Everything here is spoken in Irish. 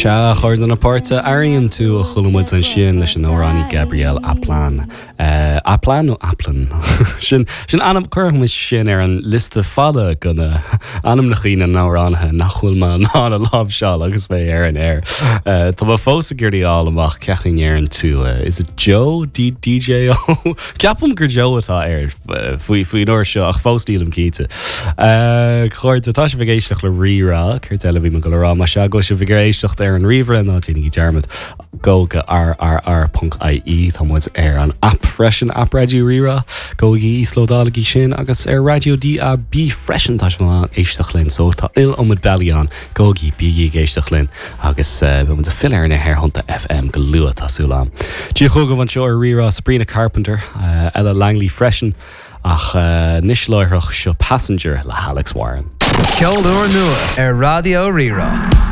Sea, a chairde na páirte, Airím tú a chuala muid ansin leis an amhránaí Gabrielle Aplin. Aplin nó Aplin? Sin, sin ainm, cuirfidh muid sin ar an liosta fada de na ainmneacha na n-amhránaithe nach bhfuil mé in ann a láimhseáil agus mé ar an aer. Tá mé fós ag iarraidh a fháil amach cén chaoi a ndeireann tú, is it Joe? D, DJ O? Ceapaim gur Joe atá air faoi, faoin uair seo ach fós nílim cinnte. A chairde, tá sibh ag éisteacht le Rí-Rá, céard eile a bhí mé ag dul a rá? Más ea go bhfuil sibh ag éisteacht ar an ríomhaire ná déanaigí dearmad gabh go rrr.ie tá muid ar an app freisin, app Raidió Rí-Rá, gabhaigí íoslódálaigí sin agus ar Raidió DAB freisin tá sibh in ann éisteacht linn so tá iliomad bealaí ann, gabhaigí, bígí ag éisteacht linn. Agus beidh muid ag filleadh ar na haerthonnta FM go luath, tá súil agam. Dia chugaibh anseo ar Rí-Rá, Sabrina Carpenter, Ella Langley freisin, ach anois láithreach, seo Passenger le hAlex Warren. Ceol úrnua ar Raidió Rí-Rá.